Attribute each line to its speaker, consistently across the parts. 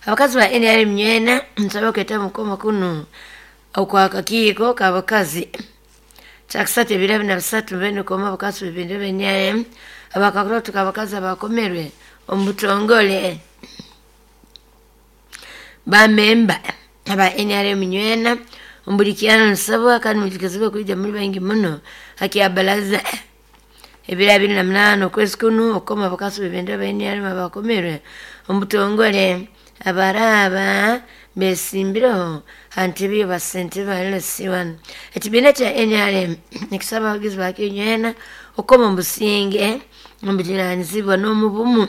Speaker 1: Abakazi ba NRM nywena nsaba kweta mukoma kunu okwakakiiko k'abakazi kyakusatu ebiro abiri na bisatu mbene koma abakazi bibindi ba NRM abakakurotuka abakazi abakomerwe omu butongole. Bamemba aba NRM nywena ombulikyano nsabwa kandi mujukizibwe kwija muri baingi muno hakyabalaza ebiro 28 okwezi kunu okukoma abakazi bibindi ba NRM abakomerwe omu butongole abaraba besimbireho ha ntebe y'abasentebe ba LC1. Ekibiina kya NRM nikisaba abagizi bakyo nywena okukoma omu businge, omu bujunaanizibwa n'omu bumu,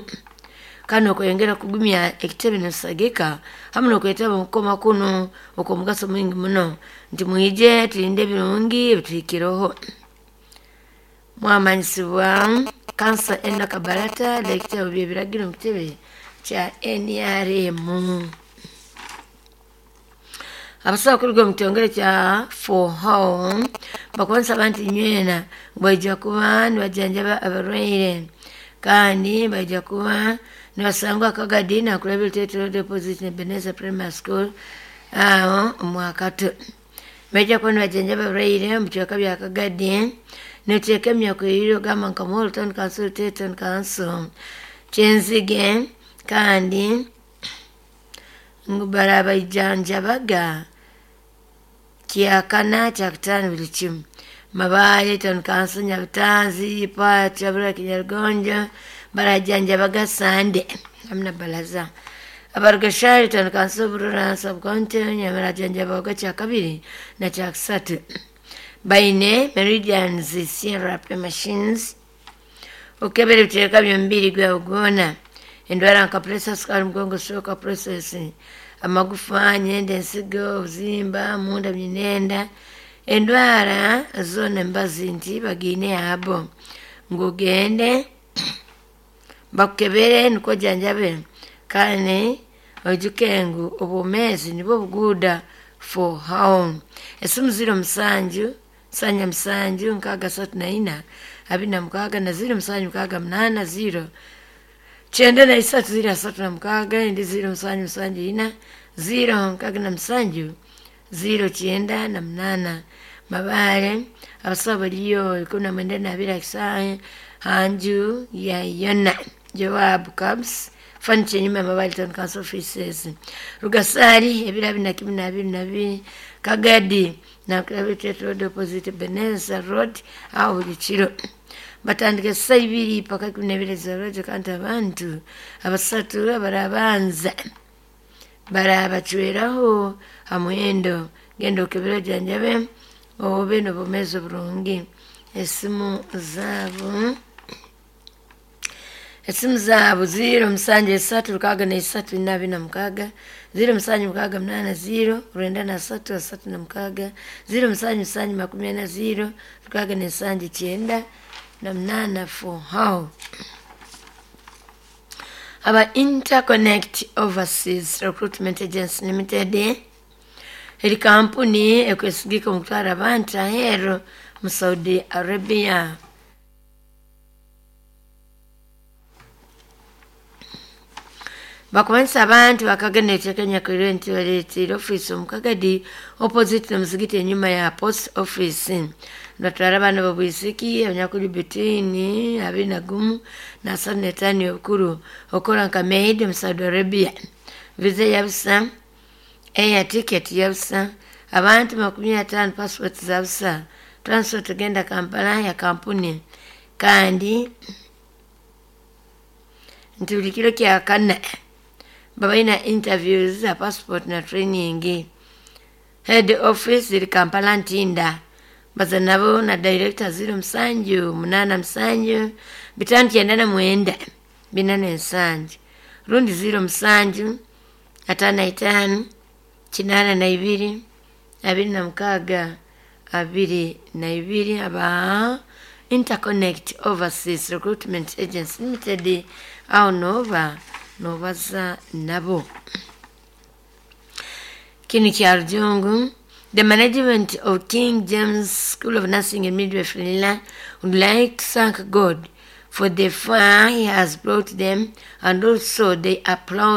Speaker 1: kandi okweyongera kugumya ekitebe nitusagika hamu n'okwetaba omu kukoma kunu okw'omugaso mwingi muno nti mwije tulinde ebirungi ebituhikireho. Mwamanyisibwa Kansa Enock Kabarata, Daktari w'eby'ebiragiro omu kitebe kya NRM. Abasawo kuruga omu kitongole kya FOHO bakubanisa abantu nywena ngu baija kuba nibajanjaba abarwaire kandi baija kuba nibasangwa Kagadi nakulabira Tate Road opposite Ebenezer Primary School aho omwakato. Baija kuba nibajanjaba abarwaire omu bicweka bya Kagadi n'ebicweka ebinyakwirire ogamba nka Muhoro Town Council, Tate Town Council, Kyenzige kandi ngu barabaijanjabaga kyakana kyakutaano buli kimu. Mabaale Town Council, Nyabutanzi, Pacha, Burra Kinyarugonjo barajanjabaga Sande hamu na Balaza. Abarugashari Town Council, Burra Sub County barajanjabaga kyakabiri na kyakusatu. Baine Meridians CRP machines okukebera ebiteeka by'omubiri gwawe gwona, endwara nka pressure, sukali, mugongo, stroke, process, amagufa, nyenda, ensigo, obuzimba, munda myinenda, endwara zoona embazi nti bagiine abo ngu ogende bakukebere nikwo ojanjabe kandi oijuke ngu obwomeezi nibwo buguuda for how. Esimu 07 7 634 26 na 07 68 0 93 036 endi 07 7 4 0 67 098. Mabaale abasawo bariyo 92 akisaahe hanju ya Yona Joab Cabs furniture enyuma ya Mabaale Town Council offices. Rugasari ebiro 21 22 Kagadi nakulabira Tate Road opposite Ebenezer Road aho buli kiro. Batandika esaaha ibiri paka 12 z'orwejjo kandi abantu abasatu abarabanza barabacweraho ha muhendo genda okebere ojanjabe obe n'obwomeezi oburungi. Esimu zaabo 0 7 3 6 3 4 26 0 7 6 8 0 93 36 0 7 7 40 0 6 98 for how. Aba Interconnect Overseas Recruitment Agency Limited eri kampuni ekwesigika omu kutwara abantu aheeru mu Saudi Arabia. Bakubanisa abantu bakagenda ekiteeka nyakwirwe nti baleetiire ofiisi omu Kagadi opposite n'omuzigiti enyuma ya post office. Nibatwara abaana b'obwisiki abanyakuli between 21 na 35 obukuru okukora nka maid omu Saudi Arabia. Visa yabusa, air ticket yabusa, abantu 50 passport zabusa, transport egenda Kampala ya kampuni kandi nti buli kiro kyakana babaina interviews za passport na training. Head office iri Kampala Ntinda. Baza nabo na director 07 87 599 47 rundi 07 55 82 26 22. Aba Interconnect Overseas Recruitment Agency Limited aho noba nobaza nabo. Kinu kya Rujungu. The management of King James School of Nursing and Midwifery would like to thank God for the far he has brought them, and also they applaud